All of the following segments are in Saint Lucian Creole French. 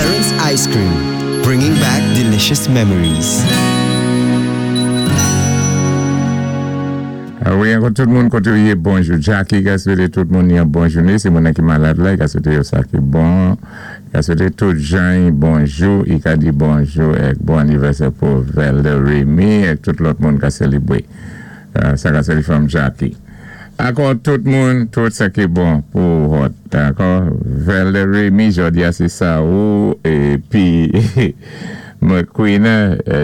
Ference Ice Cream, bringing back delicious memories. Wi ankò tout moun koté ou yé bonjou Jacky ka swété tout moun yon bon jouné si moun nan ki malad la i ka swété yo sa ki bon i ka swété tout jan bonjou i ka di bonjou èk bon anivèsè pou Velda Remy èk tout lòt moun ka selibré sa ka seli from Jacky ankò tout moun tout sa ki bon pou hot dakò Velda Remy jodi a se sa ou épi McQueen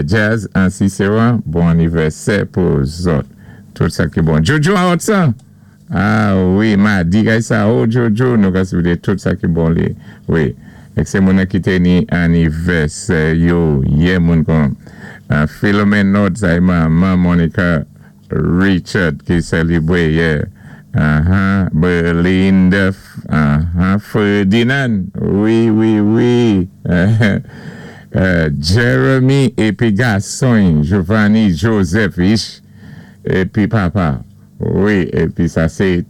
Jazz an Ciceron bon anivèsè pou zòt tout sa ki bon Jojo an hot san ah wi madi kay sa oh Jojo nou ka swete tout sa ki bon li wi ek se moun nan ki te ni anivèsè yo yè moun kon Philomène Nord sa e manman Monica Richard ki selibre yè ahan Belinda ahan Ferdinand wi wi wi Jeremy epi gason y Giovanni Joseph ish epi papa wi epi sa se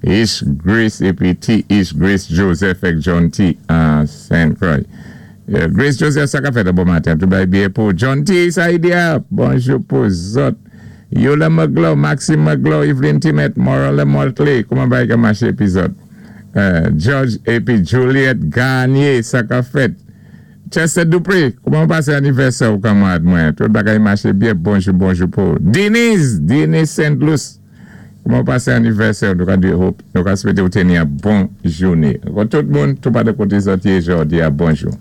ish Grace epi T ish Grace Joseph ek John T Saint Croix Grace Joseph sa ka fèt bon maten tou bay byen pou John T sa idea bonjou pou zòt Yola Magloire Maxime Magloire Eveline Timet Morale Mortley kouman bagay ka maché epi zòt George epi Juliette Garnier sa ka fèt Chester Dupré kouman ou pasé anivèsè ou kanmarad mwen tout bagay maché byen bonjou bonjou pou Denise Denise Saint Louis kouman ou pasé anivèsè ou nou ka di hope nou ka swete ou teni yon bon jouné tout moun tou pa de koté zòt yé jòdi a bonjou.